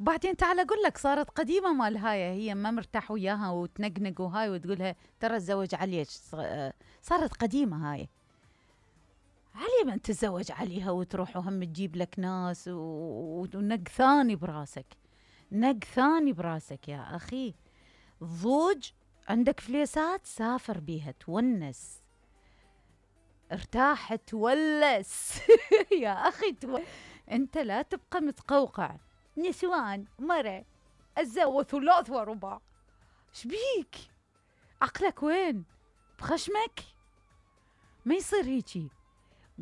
بعدين تعال اقول لك صارت قديمه مال هاي، هي ما مرتاح وياها وتنقنق وهاي وتقولها ترى تزوج علي. صارت قديمه هاي. علي من تتزوج عليها وتروح وهم تجيب لك ناس ونق ثاني براسك، نق ثاني براسك يا اخي. ضوج عندك فليسات سافر بيها تونس، ارتاح تولس يا اخي انت لا تبقى متقوقع. نسوان مرة اتزوج ثلاث ورباع، شبيك؟ عقلك وين؟ بخشمك؟ ما يصير هيجي.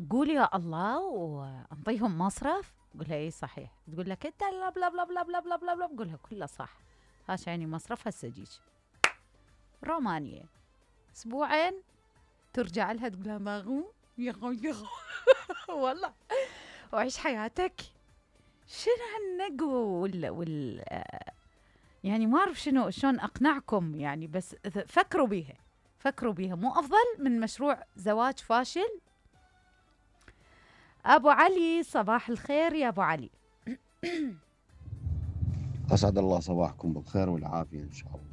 قول يا الله وانطيهم مصرف. قولها اي صحيح. تقول لك انت لا بلا بلا بلا بلا بلا بلا بلا. قولها كله صح. هاش يعني مصرف هسه جيج. رومانية اسبوعين ترجع لها تقول لها ماغو يغو يغو والله وعيش حياتك. شنو هالنقو يعني ما اعرف شلون اقنعكم يعني، بس فكروا بيها، فكروا بيها. مو افضل من مشروع زواج فاشل؟ ابو علي صباح الخير يا ابو علي. أسعد الله صباحكم بالخير والعافية إن شاء الله.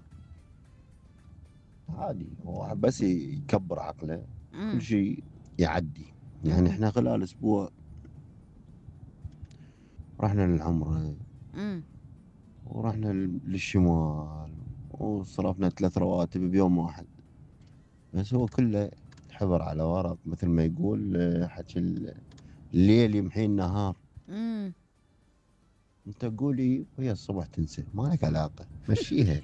عادي، هو بس يكبر عقله كل شيء يعدي. يعني إحنا خلال أسبوع رحنا للعمرة ورحنا للشمال وصرفنا 3 رواتب بيوم واحد، بس هو كله حبر على ورق مثل ما يقول حكي الليل يمحي النهار. انت قولي وهي الصبح تنسى، ما لك علاقة، مشيها.